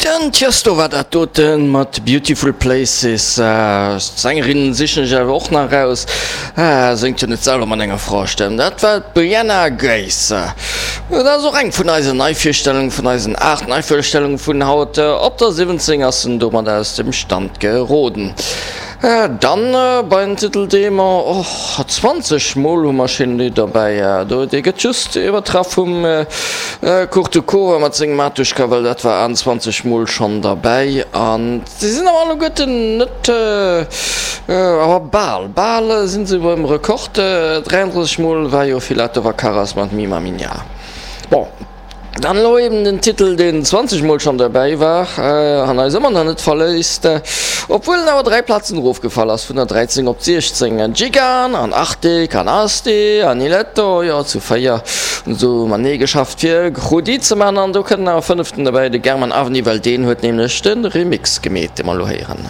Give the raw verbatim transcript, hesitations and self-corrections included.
Den Tiësto war dat doten mat Beautiful Places. D'Sängerin sichen ech awer och nach raus. Séngt jo net selwer mat enger Fraestëmm. Dat war d'Brianna Grace. Dat ass och eng vun eisen Neivirstellungen, vun eisen aacht Neivirstellungen vun haut. Op der siwwenzéng ass en domat aus dem Stand geroden. Dann bei den Titel dee mer och zwanzeg mol hu mer schéin Lidd derbäi. Do dee gëtt just iwwertraff vum Kurt mat sengem Matuschka, well dat war achtenzwanzeg mol schonn derbäi. An si sinn awer alleguerten net, awer bal, bal si se beim Rekord. dräiandrësseg mol war jo Filatov a Karas mat Mi Maminha. Bon. Dann elo eben den Titel, deen zwanzeg Mol schonn derbäi war an eis ëmmer nach net verléisst, obwuel en awer dräi Plazen erofgefall ass, vun der dräizéng op d'siechzéng. Gigan an Artik an Asti an Iletto, jo zu véier hunn se matenee geschafft fir Grudi ze man an do kënnt nach e fënneften derbäi, de German Avni, well deen huet nämlech de Remix gemeet, dee mer elo héieren.